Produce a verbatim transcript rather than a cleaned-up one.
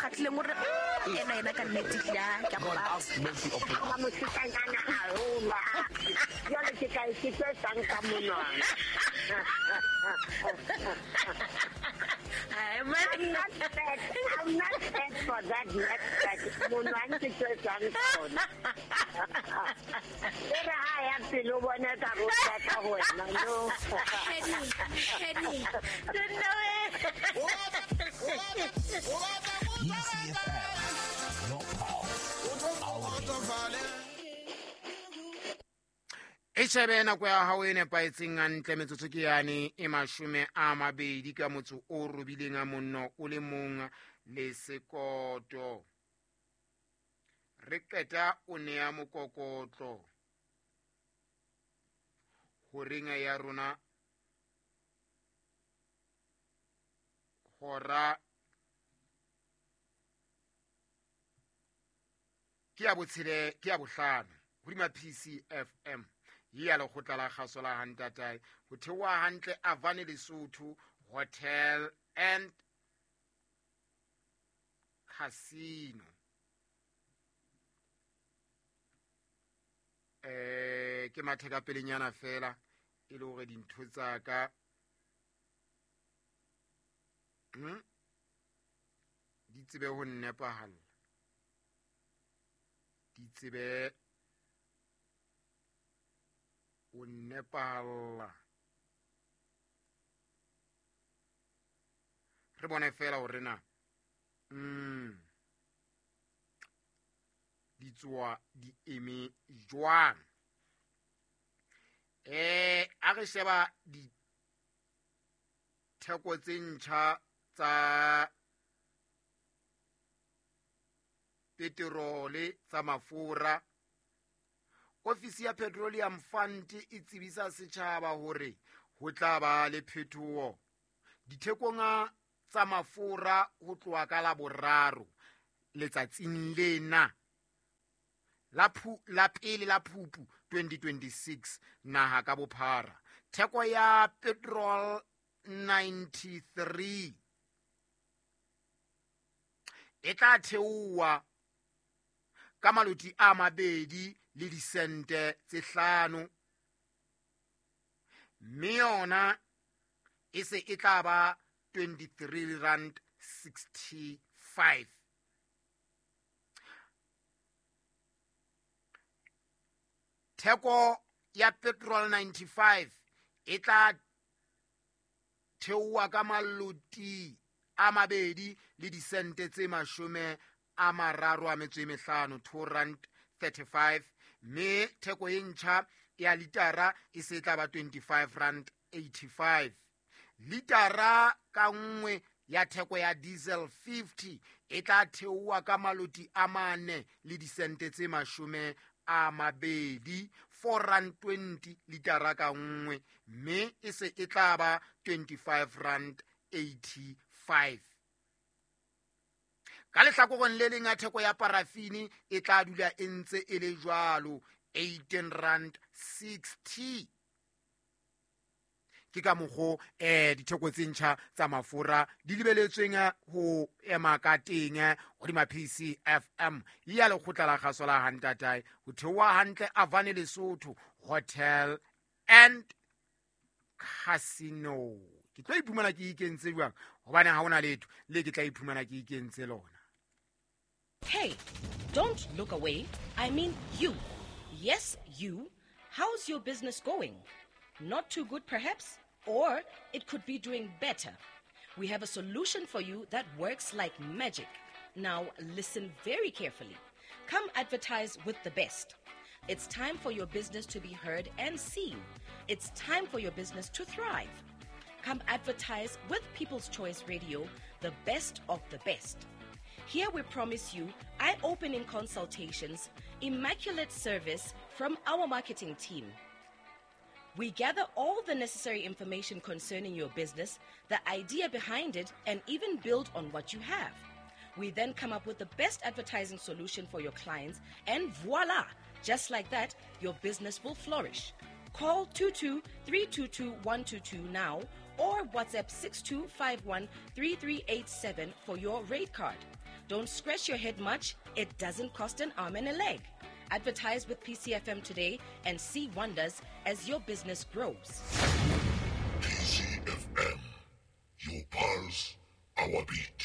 kgatlhileng o re ena ena ka nnete ya ke God have mercy upon us. Ba mosetsanyana haholo. Jwale ke ka e ke tlo etsang ka monwana. Ai, man. I'm not fat. I'm not fat for that next fat. Monwana ke tlo etsang ka ona. E re ha ya pele o bona ka ro ka ho wena, no. Henny, Henny. P C F M, your pulse, our beat. E shebe nako ya hao e nepahetseng hantle metsotso ke yane e mashome a mabedi ka motso o robileng a monno o le mong le sekoto. Re qeta o nea mokokotlo horeng ya rona hora ke ya botshele ke ya bohlano hodima P C F M ya lekgotla la kgaso la Hantatae ho theoha hantle Avane Lesotho Hotel and Casino. Eh ke matheka pelenyana fela e le hore dintho tsa ka hm di tsebe ho nnepahalla, di tsebe o nepahalla. Re bone fela hore na mm di tswa di eme jwang. Eh a re sheba ditheko tse ntjha tsa peterole tsa mafura. Ofisi ya Petroleum Fund e tsebisa setjhaba hore ho tla ba le phetoho dithekong tsa mafura ho tloha ka la boraro letsatsing lena la phu la pele la Phupu twenty twenty-six naha ka bophara. Theko ya petrol ninety-three e tla theoha ka maloti a mabedi le disente tse hlano, mme yona e se e tla ba twenty-three rand sixty-five. Theko ya petrol ninety-five e tla theoha ka maloti a mabedi le disente tse mashome a mararo a metso e mehlano, two rand thirty-five, mme theko e ntjha ya litara e se tla ba twenty-five rand eighty-five. Litara ka nngwe ya theko ya diesel fifty e tla theoha ka maloti a mane le disente tse mashome a mabedi, four rand twenty litara ka nngwe, mme e se e tla ba twenty-five rand eighty-five. Ka lehlakoreng le leng ya theko ya parafini e tla dula e ntse e le jwalo eighteen rand sixty. Ke ka mokgo eh ditheko tse ntjha tsa mafura di lebeletsweng ho ema ka teng hodima P C F M ya lekgotla la kgaso la Hantatae ho theoha hantle Avane Lesotho Hotel and Casino. Ke tlo iphumana ke ikentse jwang hobane ha hona letho le ke tla iphumana ke ikentse lona. Hey, don't look away. I mean you. Yes, you. How's your business going? Not too good, perhaps? Or it could be doing better. We have a solution for you that works like magic. Now, listen very carefully. Come advertise with the best. It's time for your business to be heard and seen. It's time for your business to thrive. Come advertise with People's Choice Radio, the best of the best. Here we promise you eye-opening consultations, immaculate service from our marketing team. We gather all the necessary information concerning your business, the idea behind it, and even build on what you have. We then come up with the best advertising solution for your clients, and voila! Just like that, your business will flourish. Call two two three two two one two two now or WhatsApp six two five one three three eight seven for your rate card. Don't scratch your head much, it doesn't cost an arm and a leg. Advertise with P C F M today and see wonders as your business grows. P C F M, your pulse, our beat.